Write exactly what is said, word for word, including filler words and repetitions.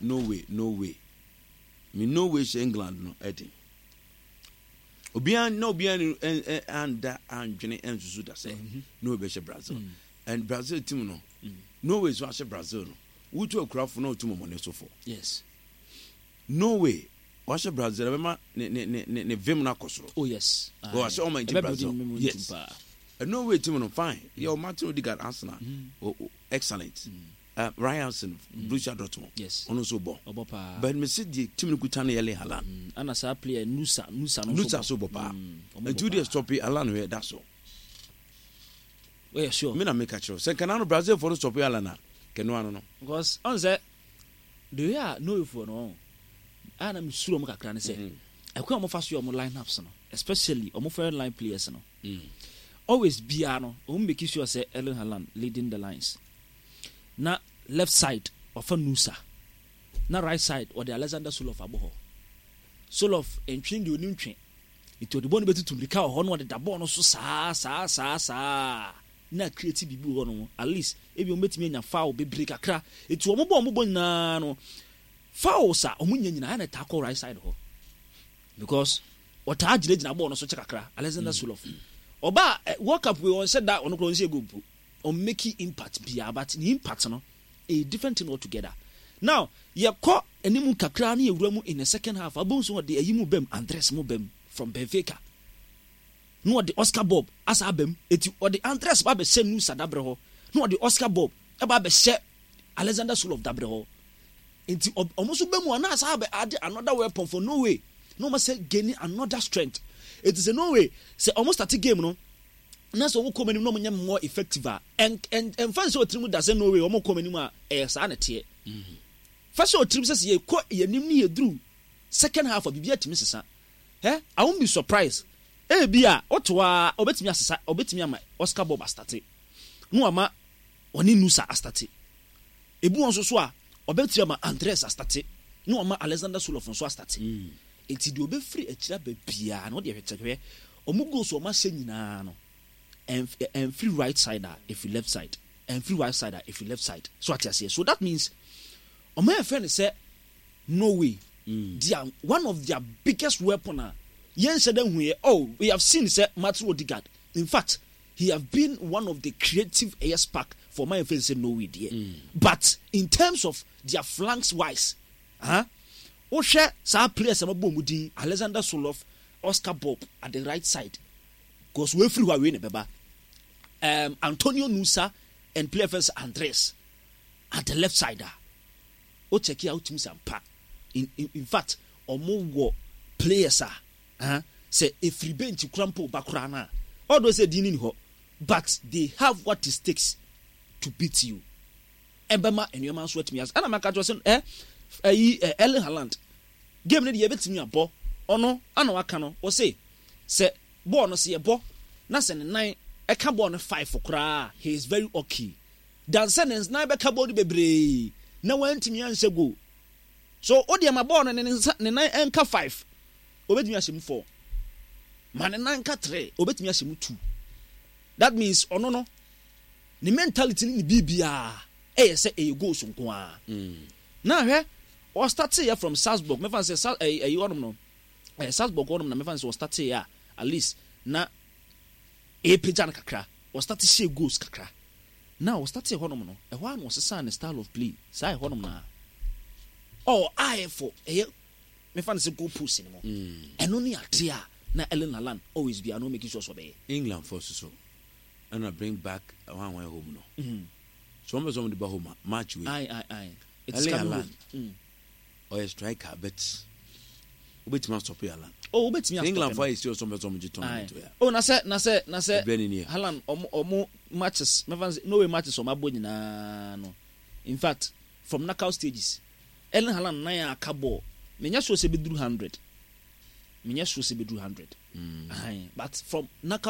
Norway, Norway, me Norway hyɛ England no ɛden. Obiara na obiara ni ɛ ɛ anda andwene ɛnsusu da sɛ Norway bɛhyɛ Brazil, and Brazil team no, Norway so ahyɛ Brazil no, wotu akurafo na otu mɔmɔne so fo. Yes Norway wahyɛ Brazil, ɛbɛma ne ne ne ne ne vim no akɔ soro. Oh yes. Oh, ahyɛ ɔma nti Ɛbɛ Brazil. building momentum Yes. paa. Norway team no fine yɛ o, Martin Odegaard, Arsenal, oh, oh, excellent. uh, Ryan Borussia Dortmund, Yes. ɔno nso bɔ. Ɔbɔ paa. But me se deɛ team no kuta no yɛ Erling Haaland. Mm, ana saa player Nusa, Nusa no nso Nusa bɔ. so bɔ paa. Mm, ɔmo nti bɔ wo deɛ paa. stop Haaland hwɛ da so. Wɔyɛ sure? Me na meka kyerɛ wo sɛ nkana no Brazil fo no stop Haaland a, kɛnoa no no Because ɔn sɛ the way a Norwayfoɔ no ɔn a na mesuro ɔmo kakra ne sɛ Mhm. ɛkwan a ɔmo fa so yɛ ɔmo line ups no, especially ɔmo front line players no, Mm. always biara no ɔmo make sure sɛ Erling Haaland leading the lines, na left side ɔfa Nusa, na right side ɔde Alexander Sørloth abɔ hɔ. Sørloth ntwe deɛ onim twe, nti ɔde bɔɔl no bɛtutu mirika wɔ hɔ na ɔde da bɔɔl no so saa saa saa saa na create biribi wɔ hɔ no. At least ebi wɔn bɛtumi anya foul bebree kakra, nti wɔn bɔ wɔn bɔ nyinaa no, fouls a wɔn nya nyinaa na ɛtaa kɔ right side hɔ because ɔtaa gyinagyina bɔɔl no so kyɛ kakra. Alexander Sørloth ɔba ɛ World Cup wei, ɔnhyɛ da, ɔno koraa ɔnhyɛ goal mpo, ɔmmake impact biara, but ne impact no a different thing altogether. Now yɛkɔ anim kakra ne yɛwura mu in the second half, abom so ɔde ayi mu bɛm, Andres mu bɛm from Benfica, na ɔde Oscar Bob asa abam, eti ɔde Andres ba abɛhyɛ Nusa dabrɛ hɔ, na ɔde Oscar Bob ɛba abɛhyɛ Alexander Sørloth dabrɛ hɔ. Nti ɔmo nso bɛ mu a, na asa abɛ ade another weapon for Norway na ɔmo sɛ gain another strength. Eti sɛ Norway sɛ ɔmo start game no na sɛ ɔmo kɔ ɔmo anim na ɔmo nyɛ more effective a, ɛn ɛn ɛnfa nsɛ ɔtirim da sɛ Norway ɔmo kɔ ɔmo anim a, ɛyɛ saa na teɛ. Fa sɛ ɔtirim sɛ sɛ yɛkɔ yɛn anim ne yɛduru second half a, biribi atumi sesa. Ɛ I won't be surprised, ebi a ɔto a ɔbɛtumi asesa, ɔbɛtumi ama Oscar Bob astart na wama ɔne Nusa astart. Ebi wɔn nso so a, ɔbɛtumi ama Andres astart na wama Alexander Sørloth nso astart. Eti deɛ ɔbɛfiri akyire aba biara na ɔde ɛhwɛ ɔmo goals a ɔmo ahyɛ nyinaa no, ɛnf ɛnfiri right side a, ɛfiri left side, ɛnfiri right side a, ɛfiri left side so. Ate aseɛ? So that means ɔmo yɛ fɛ no sɛ Norway, their one of their biggest weapon a yɛn hyɛ dɛ hu yɛ, oh, we have seen sɛ Martin Odegaard, in fact he have been one of the creative ɛyɛ spark for my fɛn sɛ Norway deɛ, but in terms of their flanks wise, huh? Wohwɛ saa players a wɔbɔ wɔn din, Alexander Sørloth, Oscar Bob at the right side, because wefiri hɔ a, wei na ɛbɛba, um, Antonio Nusa and player fɛn sɛ Andres at the left side a, o check a, wotumi sɛ ampa, in, in, in fact ɔmo wɔ players a uh, sɛ efiri bench kura mpo ba kura na although sɛ din ni hɔ, but they have what it takes to beat you. Ɛbɛma nneɛma nso atumi ase. Ɛna maka kyerɛ sɛ ɛ ɛyi ɛ Erling Haaland game no deɛ, yɛbɛtumi abɔ ɔno ana waka no, wɔse sɛ bɔɔl no sɛ yɛbɔ na sɛ ne nan ɛka bɔɔl no five koraa, he is very okay dan sɛ ne nan bɛka bɔɔl no bebree na wantumi anhyɛ goal. So o deɛ, ma bɔɔl no ne nsa ne nan ɛnka five, obetumi ahyɛ mu four, ma ne nan ka three, obetumi ahyɛ mu two. That means ɔno no ne mentality ne ne biribiara ɛyɛ sɛ ɛyɛ goals nko ara. Na hwɛ, ɔstart yɛ from Salzburg, mɛfa sɛ Sal ɛyi ɛyi hɔnom no, ɛyɛ Salzburg hɔnom na mɛfa sɛ ɔstart yɛ a, at least na ɛpagya no kakra, ɔstart hyɛ goals kakra. Na ɔstart hɔnom no, ɛhɔ a na ɔsesa ne style of play saa ɛhɔnom na ɔ ayɛ for ɛyɛ mɛfa no sɛ goal post ne mu. Ɛno ne ade a na Erling Haaland always bi a no making sure sɛ ɔbɛyɛ. England fo soso ɛna bring back wɔn a wɔn home no so, wɔn bɛ sɛ wɔn de ba home a, match wei. Aye aye aye it is Erling coming Haaland. home mm. Ɔyɛ striker, but wobɛtumi astop Haaland? Oh, wobɛtumi astop England no. fo ayɛ serious, wɔn bɛ sɛ wɔn gye Aye. tournament wei a. Oh, na sɛ na sɛ na sɛ Ɛbrɛ ni nie. Haaland, ɔmo ɔmo matches, mɛfa sɛ Norway matches ɔmo abɔ nyinaa no, in fact from knockout stages, Erling Haaland nan a aka ball, menyɛ sure sɛ bɛduru hundred, menyɛ sure sɛ bɛduru hundred. Aye, but from knockout